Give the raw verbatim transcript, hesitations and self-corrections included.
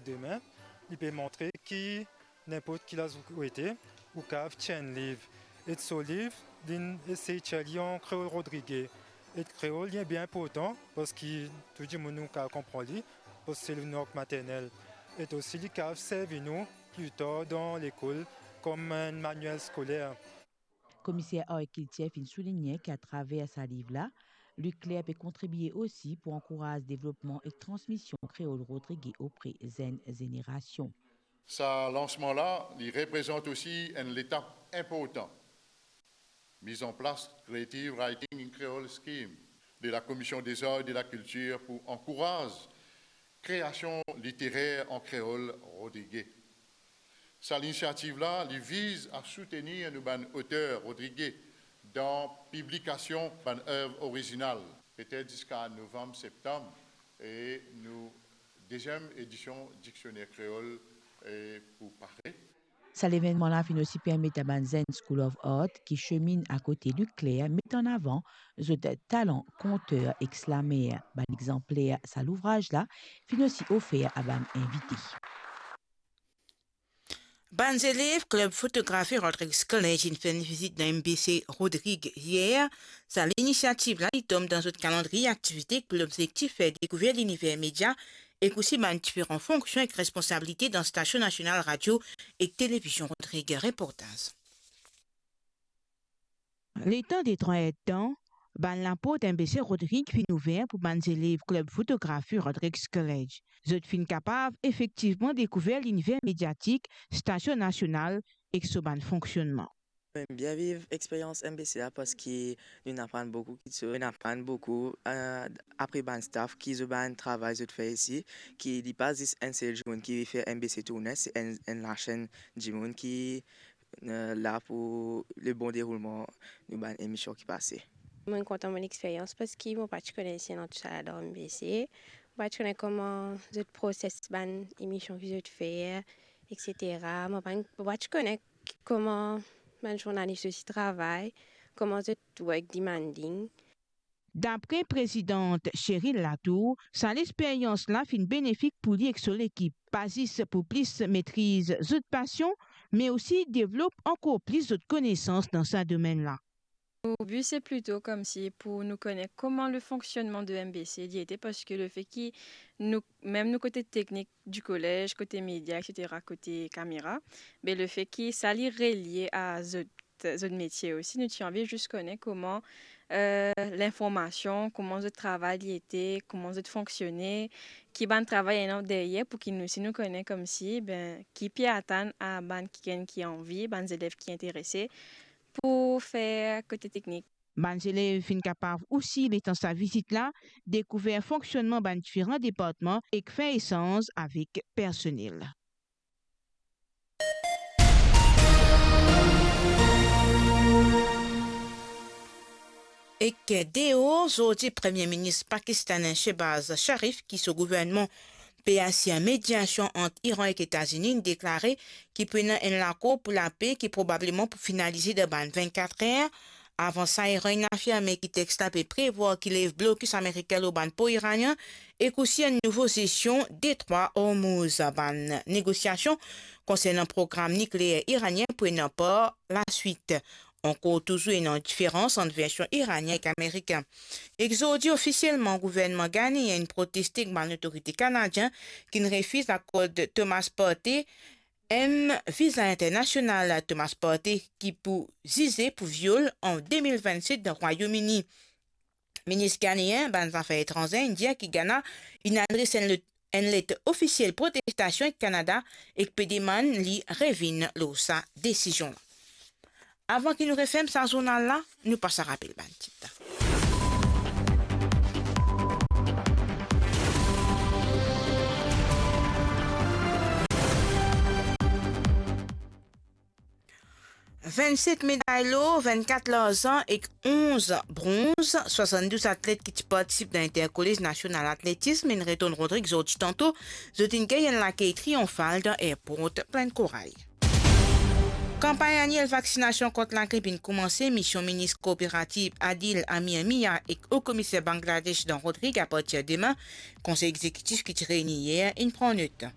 Demin, li pe montre ki ninport ki laz ou ete, ou kav tir enn liv. E so liv, linn esey tir li an kreol rodrige. E kreol, li bien inportan, parski tou dimoun nou kav konpran li, parski se nou lang maternel. E osi, li kav servi nou pli tar dan lekol kom enn manuel skoler. Komiser Arkiltir finn souligne ki atraver sa liv la, Luc Clair pe kontribie osi pou ankouraz devlopman ek transmision kreol rodrige opre zenn zenerasion. Sa lansman la, li reprezant osi enn letap inportan. Mise en place Creative Writing in Creole Scheme de la Commission des Arts et de la Culture pou ankouraz kreasion literer an kreol rodrige. Sa linisiativ la, li viz a soutenir nou bann oter rodrige dan piblikasion bann ev orizinal, petet ziska novanm, septanm, e nou deziem edision diksioner kreol, e, pou pare. Sa levennman la finn osi permet a bann zenn School of Art ki semin akote Luc Clair met an avan zot talan konter ek slamer. Bann exanpler sa louvraz la finn osi ofer a bann invite. Bann zelev klib fotografi Rodrigues College inn fer enn vizit dan M B C Rodrigues yer. Sa linisiativ la, li tom dan zot kalandriye aktivite ki pou lobzektif fer dekouver liniver media ek osi bann diferan fonksion ek responsabilite dan Stasion Nasional Radio ek Televizion Rodrigues. Reportaz. Letan de trwa er-d-tan, bann laport M B C Rodrigues finn ouver pou bann zelev klib fotografi Rodrigues College. Zot finn kapav efektivman dekouver liniver mediatik Stasion Nasional ek so bann fonksionnman. Mo bien viv experyans M B C la parski nou'nn aprann boukou kiksoz, nou'nn aprann boukou, eh, apre bann staff ki zot bann travay zot fer isi, ki li pa zis enn sel dimoun ki fer M B C tourne, se enn, enn lasenn dimoun ki, eh, la pou le bon deroulman nou bann emision ki pase. Mo kontan mo experyans parski mo pa ti kone si ena tousala dan M B C. Mo pa ti kone kouma zot proses bann emision ki zot fer, et cetera. Mo pa, mo pa ti kone kouma bann zournalis osi travay, kouma zot work demanding. Dapre prezidant Cheryl Latour, sa lexperyans la finn benefik pou li ek so lekip, pa zis pou plis metriz zot pasion, me osi devlop ankor plis zot konesans dan sa domenn la. Nou bi se plito koumsi pou nou kone kouma le fonksionnman de M B C li ete, parski le fe ki nou, mem nou kote teknik di kolez, kote media, et cetera, kote kamera, be le fe ki sa li relie a zot, zot metie osi, nou ti anvi zis kone kouma, eh, linformasion, kouma zot travay li ete, kouma zot fonksione, ki bann travay ena deryer, pou ki nou osi nou kone koumsi, ben, ki pe atann a bann kikenn ki anvi, bann zelev ki interese, pou fer kote teknik. Bann zelev finn kapav osi, letan sa vizit la, dekouver fonksionnman bann diferan departman ek fer esanz avek personel. Ek deor, zordi Premie Minis pakistanen Shehbaz Sharif, ki so gouvernman pe asir mediasion ant Iran ek Etazini, inn deklare ki pou ena enn lakor pou lape ki probableman pou finalize dan bann vinn-kat er. Avan sa, Iran inn afirme ki text la pe prevwar ki lev blokis amerikin lor bann por iranien ek osi enn nouvo zesion Detrwa Ormouz. Bann negosiasion konsernan program nikleer iranien pou ena par laswit. Ankor touzour ena diferans ant version iranien ek amerikin. Ek zordi, ofisielman, gouvernman ghaneen inn proteste ek bann lotorite kanadien ki'nn refiz akord Thomas Partey enn viza internasional. Thomas Partey ki pou zize pou viol an de mil vinn-set dan Rwayom Ini. Minis ghaneen bann zafer etranze inn dir ki Ghana inn adres enn let, enn let ofisiel protestasion ek Kanada ek pe demann li revinn lor sa desizion la. Avan ki nou referm sa zournal la, nou pas a rapel bann tit. Vinn-set meday lor, vinn-kat larzan ek onz bronz, swasann-douz atlet ki ti partisip dan Interkolez Nasional Atletism inn retourn Rodrigues zordi tanto, zot inn gagn enn lakey triyonfal dan airport Plaine Corail. Kanpagn aniel vaksinasion kont lagrip inn koumanse, mision minis kooperativ Adil Amir Mia ek o komiser Bangladesh dan Rodrigues apartir demin, konsey exekitif ki ti reyni yer inn pran not.